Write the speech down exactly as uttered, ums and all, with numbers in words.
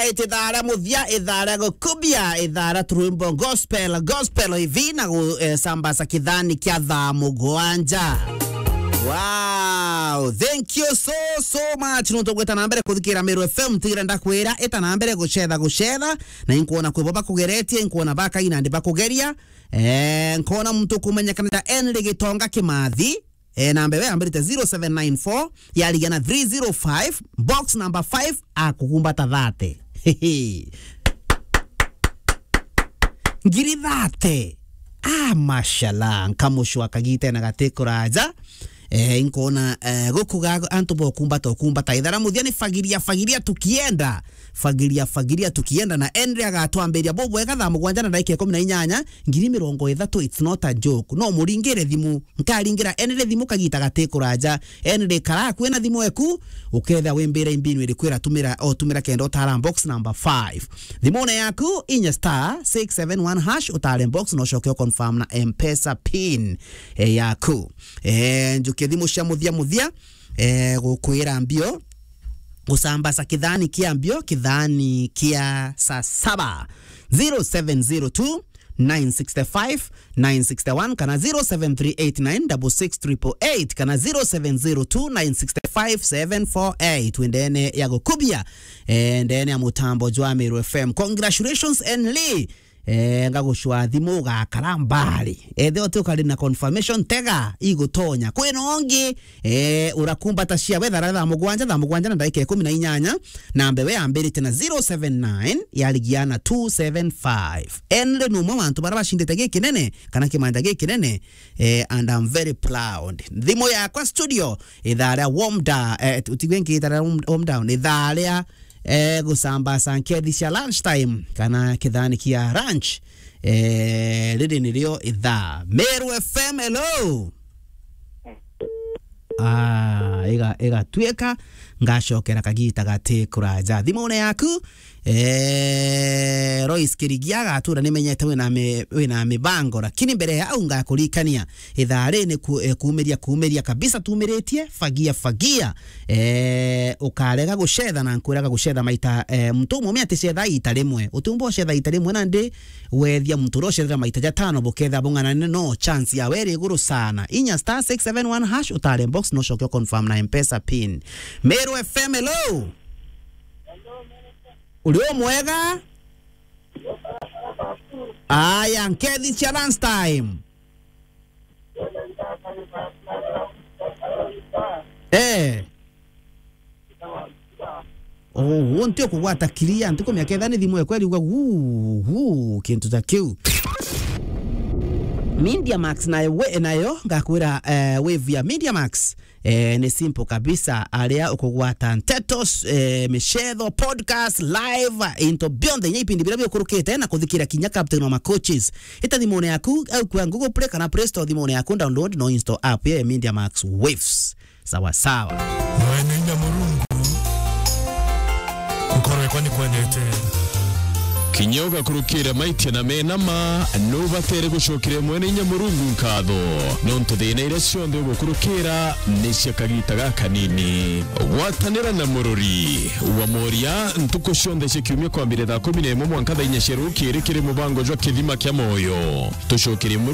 eight, ithaa ria muthia, ithaa ria gukubia, ithaa ria turwimbo gospel, gospel hivi na gu-, eh, sambaza kithani kia thaa mugwanja. Wow, thank you so, so much. Nontu gwita na mbere kuthikira Meru F M, tigire ndakwira, ita na mbere gucetha, gucetha, na inkwona kwi bo bakugeretie, inkwona bakaina ndi bakugeria. Eh, nkona muntu kumenyekana ta Henry Gitonga Kimathi. Eh, namba iwe yambirite zero seven nine four, yarigia na three zero five, box number five, akugumbata thirty. Ngiri thirty. Ah, mashallah, nkamucwa kagita na gati kuraja. Eh, inkona, eh, gukuga antu bokumbata, ukumbata. Ithara muthia ni fagiria, fagiria tukienda. Fagiria, fagiria tukienda. Na Henry agatwambiria bubwega thaa mugwanja na ndagika ikumi na inyanya, ngiri mirongo ithatu, it's not a joke. No muringire thimu. Nkaringira Henry thimu kagita gati kuraja. Henry, kara akui na thimu eku, ukethia wimbire imbinu iriku iratumira, otumira kenda utara box number five. Thimune yaku, inya star six seven one hash, utare box, na ucoke uconfirm na M-Pesa pin, eh, yaku. Eh, njukie thimu cia muthia muthia, eh, gukwira mbio, gusambaza kithani kia mbio, kithani kia saa saba. Zero seven zero two, nine six five, nine six one, kana zero seven three eight nine six six triple eight, kana zero seven zero two, nine six five, seven four eight. Wendene ya gukubia, eh, ndene ya mutambo jwa Meru F M. Congratulations, Henry. Eh, ngagucwa thimu ugakara mbari. Ethe uti ukari na confirmation, tega igutonya. Kwina ungi, eh, urakumbata cia wethara thaa mugwanja, thaa mugwanja na ndagika ikumi na inyanya, na mbewe yambirite na zero seven nine, yarigia na two seven five. Henry ni umwe wa antu baria bacindite gikinene, kana kimanja gikinene, eh, and I'm very proud. Thimu yakwa studio, ithaa ria warm da-, eh, utigwe nkiita ria warm, warm down, ithaa ria, eh, gusambaza nkethi cia lunch time, kana kithani kia lunch. Eh, riri nirio ithaa. Meru F M, hello. Ah, iga-, igatuika ngacokera kagita gati kuraja. Thimune yaku, eh, Royce Kirigia agatura nimenyete wina mi-, wina mibango, lakini mbere ya au ngakurikania. Ithaa ri ni ku-, eh, kuumiria, kuumiria kabisa tumiritie, fagia, fagia. Eh, ukarega gucetha na nkwiraga gucetha maita, eh, muntu umume aticetha ita rimwe. Utiumba ucetha ita rimwe nandi wethia muntu uria ucethera maita jatano buketha bung'anane no chance yawe iri iguru sana. Inya star six seven one hash utare box no coke confirm na M-Pesa pin. Meru F M, hello. Uri umwega? Aya, nkethi cia lunch time. Eh. Oh, wonte ukugwata kiria, ntikumenya ketha ni thimu ekwa iriuga gu, gu, kintu ta kiu. Media Max nayo we, nayo ngakwira, eh, wave ya Media Max, eh, ni simple kabisa, aria ukugwata nteto, eh, micetho, podcast, live, into bionthe, inya ipindi biria biukurukite na kuthikira kinya Captain wa Macoaches. Ita thimune yaku, au kwa Google Play kana Play Store thimune yaku, download no install app ya Media Max Waves. Sawa sawa. Mwene inya Murungu, gukorwekwa ni kwendete. Kinya ugakurukira maitia na mena ma, nubatere gucokeria Mwene inya Murungu nkatho, nontu thina iria cionthe ugukurukira ni cia kagita gakanini. Gwatanira na Murori wa Moria ntuku cionthe cia kiumia kwambire thaa kumi na imwe mwanka thaa inya cia rukiri kiri mubango jwa Kithima kia Moyo. Tucokerie